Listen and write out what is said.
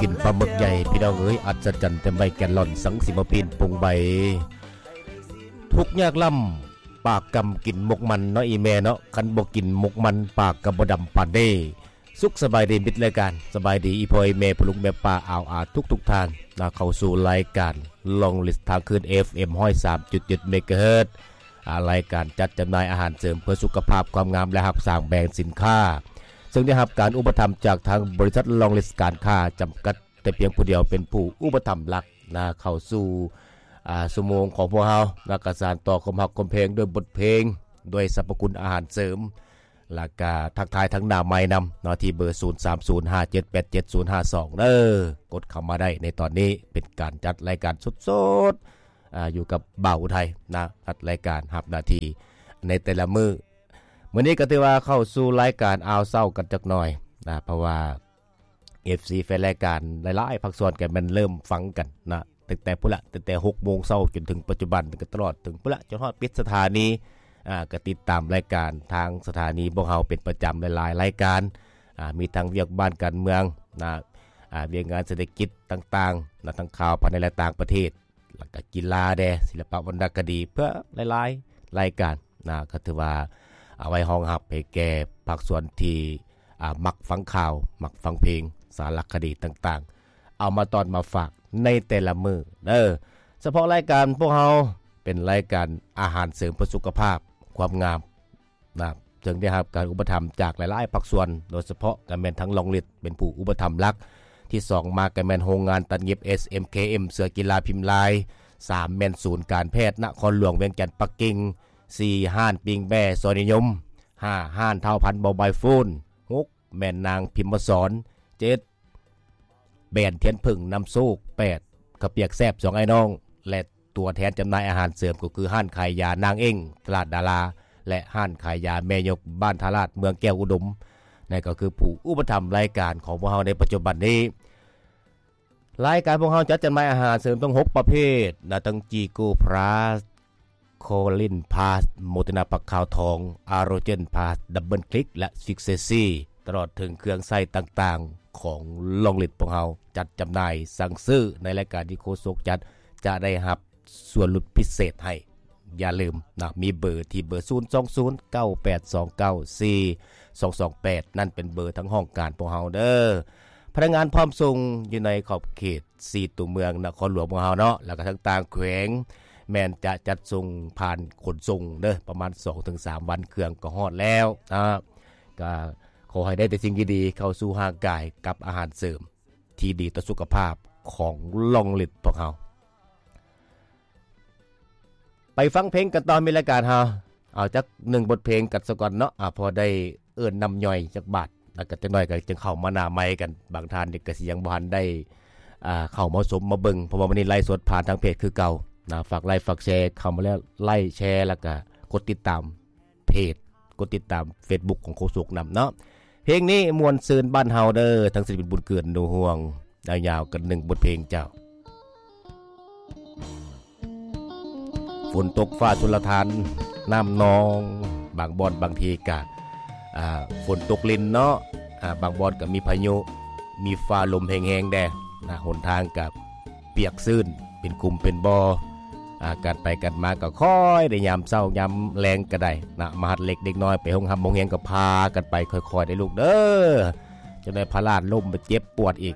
ກິນປາໝຶກໃຫຍ່ ພີ່ນ້ອງເອີຍ ອັດສະຈັນເຕັມໃບແກນລອນ ສັງສິມາປີນປຸງໃບ ທຸກຍາກລ້ຳ ປາກກຳກິນໝົກມັນເນາະ ອີ່ແມ່ເນາະ ຄັນບໍ່ກິນໝົກມັນ ປາກກໍບໍ່ດຳປານເດ້. ສຸກສະບາຍດີມິດລາຍການ ສະບາຍດີອີ່ພໍ່ອີ່ແມ່ ພໍ່ລຸງແມ່ປ້າ ອາວອາທຸກໆທ່ານນະ ເຂົ້າສູ່ລາຍການລອງລິດທາງຄື້ນ ເອັຟເອັມ ຮ້ອຍສາມຈຸດເຈັດ ເມກາເຮີດ ອາ ລາຍການຈັດຈຳໜ່າຍອາຫານເສີມເພື່ອສຸຂະພາບ ຄວາມງາມ ແລະ ຮັບສ້າງແບຣນສິນຄ້າ ເຊິ່ງໄດ້ຮັບການອຸປະຖຳຈາກທາງບໍລິສັດລອງລິດການຄ້າຈຳກັດ ແຕ່ພຽງຜູ້ດຽວເປັນຜູ້ອຸປະຖຳຫຼັກນະ ເຂົ້າສູ່ ອາ ຊົ່ວໂມງຂອງພວກເຮົານະ ກະສານຕໍ່ຄວາມຮັກຄວາມແພງດ້ວຍບົດເພງ ດ້ວຍສັບພະຄຸນອາຫານເສີມ ແລ້ວກະທັກທາຍທັງໜ້າໄມນຳເນາະ ທີ່ເບີ ສູນສາມສູນ ຫ້າເຈັດແປດເຈັດ ສູນຫ້າສອງ ເດີ ກົດເຂົ້າມາໄດ້ໃນຕອນນີ້ ເປັນການຈັດລາຍການສົດໆ ອາ ຢູ່ກັບບ່າວອຸໄທນະ ຈັດລາຍການ ຮັບໜ້າທີ່ໃນແຕ່ລະມື້. ມື້ນີ້ກໍຖືວ່າເຂົ້າສູ່ລາຍການອ່າວເຊົ້າກັນຈັກໜ່ອຍນະ ເພາະວ່າ ເອັຟຊີ ແຟນລາຍການຫຼາຍໆພາກສ່ວນກໍແມ່ນເລີ່ມຟັງກັນນະ ຕັ້ງແຕ່ພຸ້ນລະ ຕັ້ງແຕ່ຫົກໂມງເຊົ້າຈົນເຖິງປັດຈຸບັນ ກໍຕະຫຼອດເຖິງພຸ້ນລະ ຈົນຮອດປິດສະຖານີ ອາ ກໍຕິດຕາມລາຍການທາງສະຖານີພວກເຮົາເປັນປະຈຳຫຼາຍໆລາຍການ ອາ ມີທັງວຽກບ້ານການເມືອງນະ ອາ ວຽກງານເສດຖະກິດຕ່າງໆນະ ທັງຂ່າວພາຍໃນ ແລະ ຕ່າງປະເທດ ແລ້ວກະກິລາແດ່ ສິລະປະວັນນະຄະດີ ເພື່ອຫຼາຍໆລາຍການນະ ກໍຖືວ່າເອົາໄວ້ຮອງຮັບໃຫ້ແກ່ພາກສ່ວນທີ່ ອາ ມັກຟັງຂ່າວ ມັກຟັງເພງ ສາລະຄະດີຕ່າງໆ ເອົາມາຕ້ອນມາຝາກໃນແຕ່ລະມື້ເດີ. ສະເພາະລາຍການພວກເຮົາເປັນລາຍການອາຫານເສີມເພື່ອສຸຂະພາບ ຄວາມງາມ ນະ ເຊິ່ງໄດ້ຮັບການອຸປະຖຳຈາກຫຼາຍໆພາກສ່ວນ ໂດຍສະເພາະກໍແມ່ນທັງລອງລິດເປັນຜູ້ອຸປະຖຳຫຼັກ, ທີສອງມາກໍແມ່ນໂຮງງານຕັດຫຍິບ ເອສເອັມເຄເອັມ ເສື້ອກິລາພິມລາຍ, ສາມແມ່ນສູນການແພດນະຄອນຫຼວງວຽງຈັນປັກກິ່ງ, ສີ່ຮ້ານປີ້ງແບ້ຊອຍນິຍົມ, ຫ້າຮ້ານທ້າວພັນໂມບາຍໂຟນ, ຫົກແມ່ນນາງພິມມະສອນ, ເຈັດ ແບຣນທຽນເຜິ້ງນຳໂຊກ, ແປດ ເຂົ້າປຽກແຊບສອງອ້າຍນ້ອງ ແລະ ຕົວແທນຈຳໜ່າຍອາຫານເສີມກໍຄືຮ້ານຂາຍຢານາງເອັງ ຕະຫຼາດດາລາ ແລະ ຮ້ານຂາຍຢາແມ່ຍົກບ້ານທ່າລາດ ເມືອງແກ້ວອຸດົມ ນັ້ນກໍຄືຜູ້ອຸປະຖຳລາຍການຂອງພວກເຮົາໃນປັດຈຸບັນນີ້. ລາຍການພວກເຮົາຈັດຈຳໜ່າຍອາຫານເສີມທັງຫົກປະເພດນະ ທັງ ຈີໂກພລັສ ໂຄລິນພລັສ ໂມເຕີນາຜັກຂາວທອງ ອາໂຣເຈນພລັສ ດັບເບິນຄລິກ ແລະ ຊິກເຊຊີ ຕະຫຼອດເຖິງເຄື່ອງໃຊ້ຕ່າງໆຂອງລອງລິດພວກເຮົາ ຈັດຈຳໜ່າຍ ສັ່ງຊື້ໃນລາຍການທີ່ໂຄສົກຈັດ ຈະໄດ້ຮັບສ່ວນຫຼຸດພິເສດໃຫ້. ຢ່າລືມນະ ມີເບີທີ່ເບີ ສູນສອງສູນ ເກົ້າແປດສອງເກົ້າ ສີ່ສອງສອງແປດ ນັ້ນເປັນເບີທາງຫ້ອງການພວກເຮົາເດີ. ພະນັກງານພ້ອມສົ່ງຢູ່ໃນຂອບເຂດ ສີ່ຕົວເມືອງນະຄອນຫຼວງຂອງເຮົາເນາະ ແລ້ວກໍທັງຕ່າງແຂວງ ແມ່ນຈະຈັດສົ່ງຜ່ານຂົນສົ່ງເດີ ປະມານສອງເຖິງສາມວັນເຄື່ອງກໍຮອດແລ້ວນະ. ກໍຂໍໃຫ້ໄດ້ແຕ່ສິ່ງດີໆເຂົ້າສູ່ຮ່າງກາຍກັບອາຫານເສີມທີ່ດີຕໍ່ສຸຂະພາບຂອງລອງລິດພວກເຮົາ. ໄປຟັງເພງກັນຕໍ່ ມີລາຍການເຮົາ ເອົາຈັກໜຶ່ງບົດເພງກັນສາກ່ອນເນາະ ອາ ພໍໄດ້ເອີ້ນນ້ຳຍ່ອຍຈັກບາດ ແລ້ວກໍຈັກໜ້ອຍກໍຈຶ່ງເຂົ້າມາໜ້າໄມກັນ. ບາງທ່ານນີ້ກໍຊິຍັງບໍ່ທັນໄດ້ ອາ ເຂົ້າມາຊົມມາເບິ່ງ ເພາະວ່າມື້ນີ້ໄລຟ໌ສົດຜ່ານທາງເພຈຄືເກົ່ານະ. ຝາກໄລຟ໌ ຝາກແຊເຂົ້າມາແລ້ວ ໄລຄ໌ ແຊ ແລ້ວກໍກົດຕິດຕາມເພຈ ກົດຕິດຕາມເຟສບຸກຂອງໂຄສົກນຳເນາະ. ເພງນີ້ມ່ວນຊື່ນບ້ານເຮົາເດີ ທັງສິລະປິນບຸນເກືອນ ໜູຮ່ວງ ຍາວໆກັນໜຶ່ງບົດເພງເຈົ້າ. ຝົນຕົກຟ້າຊົນລະທານ ນ້ຳນອງ ບາງບ່ອນບາງທີກະ ອ່າ ຝົນຕົກລິນເນາະ ອ່າ ບາງບ່ອນກະມີພາຍຸ ມີຟ້າລົມແຮງໆແດ່ນະ ຫົນທາງກະປຽກຊື້ນ ເປັນຂຸມເປັນບໍ່ ອ່າ ການໄປການມາກະຄ່ອຍໄດ້ ຍາມເຊົ້າຍາມແລງກະໄດ້ນະ ມະຫັດເລັກເດັກນ້ອຍໄປໂຮງຮ່ຳໂຮງຮຽນກະພາກັນໄປຄ່ອຍໆເດີລູກເດີ ຈັ່ງໃດພະລາດລົ້ມໄປເຈັບປວດອີກ.